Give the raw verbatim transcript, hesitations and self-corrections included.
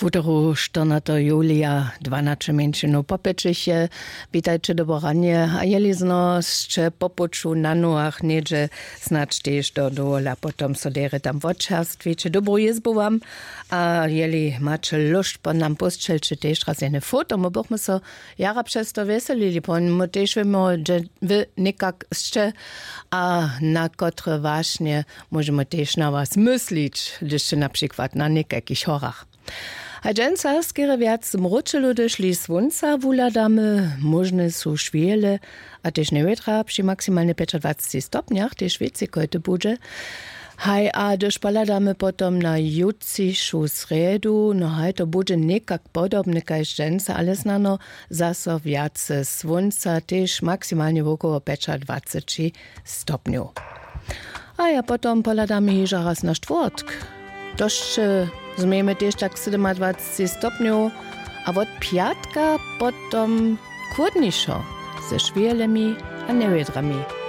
Wutoru štyrnateho julija dwanaće mjeńšinow popjećeše. Witajće, dobre ranje. A jeli zno sće po puću na nohach něhdźe, snadź tež do dowola potom so derje tam wotčerstwiće, dobru jězbu wam. A jeli maće lóšt po nam pósćelće tež raz jene foto, my bychmy so jara přez to wjeselili, pon my tež wěmy, wy někak sće a na kotre wašnje móžemy tež na was myslić, hdyž sće na přikład na někajkich horach. A dźensa skerje wjac mróčelu hdyž li słónca wuhladamy, móžne su šwjele a tež njewětra při maksimalnje pjećadwaceći stopnjach tež wěcej kojty budźe. Haj, a hdyž pohladamy potom na jutřišu srjedu, no haj, to budźe někak podobne kaž dźensa, ale snano zaso wjace słónca, tež maksimalnje wokoło pjećadwaceći stopnjow. A ja potom pohladamy hižo raz na štwórtk. To sće změjemy tež tak sydomadwaceći stopnjow, a wot pjatka potom chłódnišo, ze šwjelemi a njewědrami.